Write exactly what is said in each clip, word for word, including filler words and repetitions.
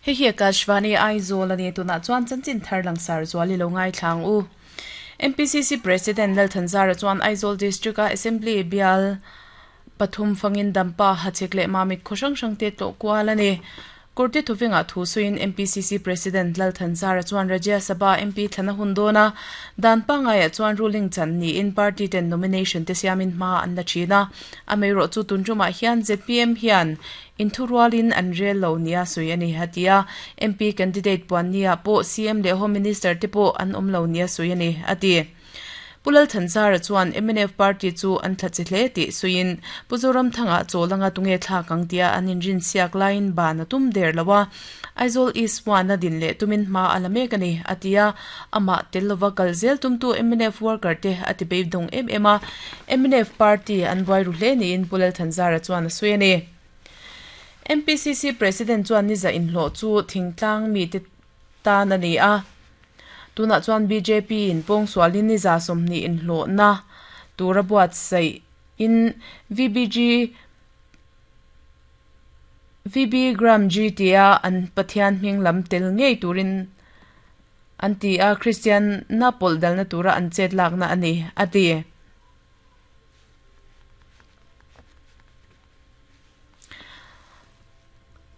Hei hi Akashvani Aizawl ani tuna chuan chanchin thar langsar zuali lo ngai thlang u. M P C C President Lal Thanzara chuan Aizawl District a Assembly bial pathum fangin dampa hachek leh mamit khawhrang hrang te tawh kual ani. Kurti thuvinga thu suin M P C C President Lal Thanzara chuan Rajya Sabha M P thlana hun dona dan pangaya chuan ruling chan ni in party ten nomination te siamin hma an la thina amei ro chu tunjuma hian Z P M hian in thurualin an rel lo nia sui ani hatia M P candidate puan nia po C M le Home Minister te po an om lo nia sui ani ati. Pulal Thanzara chuan M N F party chu an thlachi hle ti suin Puzoram thanga cholanga tunge thla kangtia an in rin siak line ban tum der lawa Aizawl East one na din le tumin ma alame kani atia ama telova kalzel tum tu M N F worker te ati be dong em ema M N F party an boi ru hle ni in Pulal Thanzara chuan suini M P C C President chuan ni za in hlo chu thingtlang mi te ta na ni a tuna chuan B J P in pong sualin ni za somni in hlo na tura buat sei in V B G V B Gram G T A an Pathian hming lam tel ngei turin an ti a Christian na pol dal na tura an chet lak na ani ati.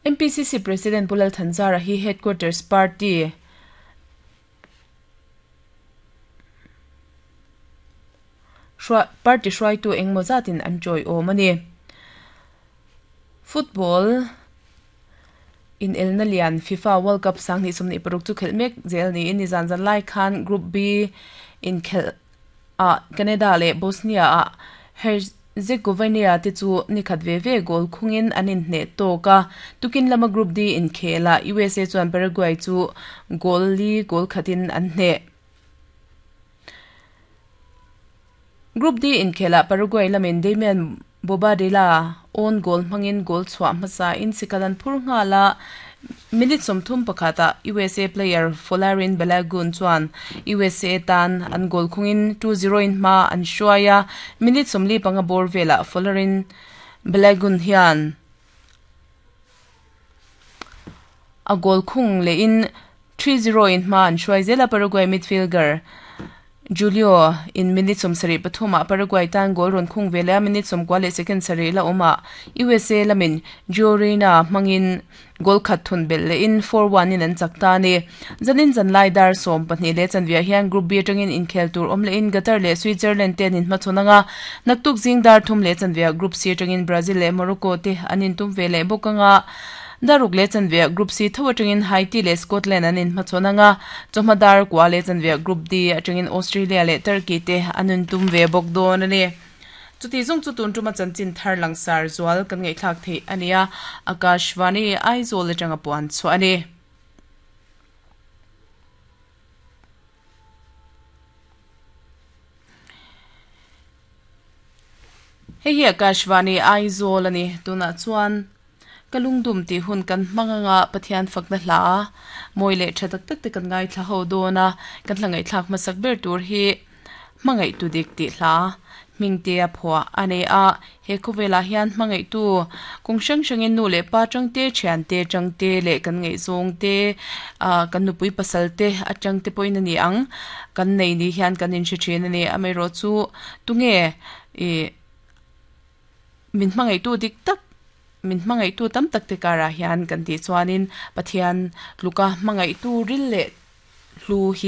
M P C C President Pulal Thanzara hi headquarters party party hruai tu engmaw zatin an chawi awm ani. Football in elna lian FIFA World Cup sang ni sumni paruk chu khel mek zel ni in zan zan lai khan Group B in khel a Canada le Bosnia a Herzegovina te chu ni khat ve ve goal khungin anin hne toka tukin lama Group D in khela U S A chuan Paraguay chu goal li goal khatin an hne. Group D in khela Paraguay lamin Damian Bobadilla on goal mangin goal chwa masa in sikalan phur nga la minute somthum pakhata U S A player Folarin Balogun chuan U S A tan an goal khungin two zero in ma an shuaya minute somli panga bor vela Folarin Balogun hian a goal khung le in three zero in ma an shuai zela Paraguay midfielder Julio in minutes som sari pathuma Paraguay tan goal ron khung vela minutes som kwale second sari la oma U S A lamin Jorina mangin goal khat thun bel le in four one in an chakta ni zanin zan lai dar som pahnih le chanvia hian Group B atangin in khel tur om le in Qatar le Switzerland ten in hmachhunanga naktuk jing dar thum le chanvia Group C atangin Brazil le Morocco te anin tum vele bokanga daruk le chanvia Group C thaw atangin Haiti le Scotland anin hmachhunanga chawhmadar kwa le chanvia Group D atangin Australia le Turkey te anun tum ve bok don ani chuti zong chu tun tuma chanchin thar langsar zual kan ngai thlak thei ania Akashvani Aizawl atanga puan chu ani. Hei hi Akashvani Aizawl ani tuna chuan kalungdum ti hun kan manganga Pathian fakna hla moi le thatak tak te kan ngai thla ho dona kan hlangai thlak masak ber tur hi mangai tu dik ti hla mingte a phwa ane a he khowela hian mangai tu kung sang sangin nu le pa changte thian te changte le kan ngai zong te a kan nupui pasal te atang te poin ani ang kan nei ni hian kan in hre ani amei ro chu tunge e min mangai tu dik tak min mangai tu tam tak te kara hian kan ti chuanin Pathian luka mangai tu ril le hlu hi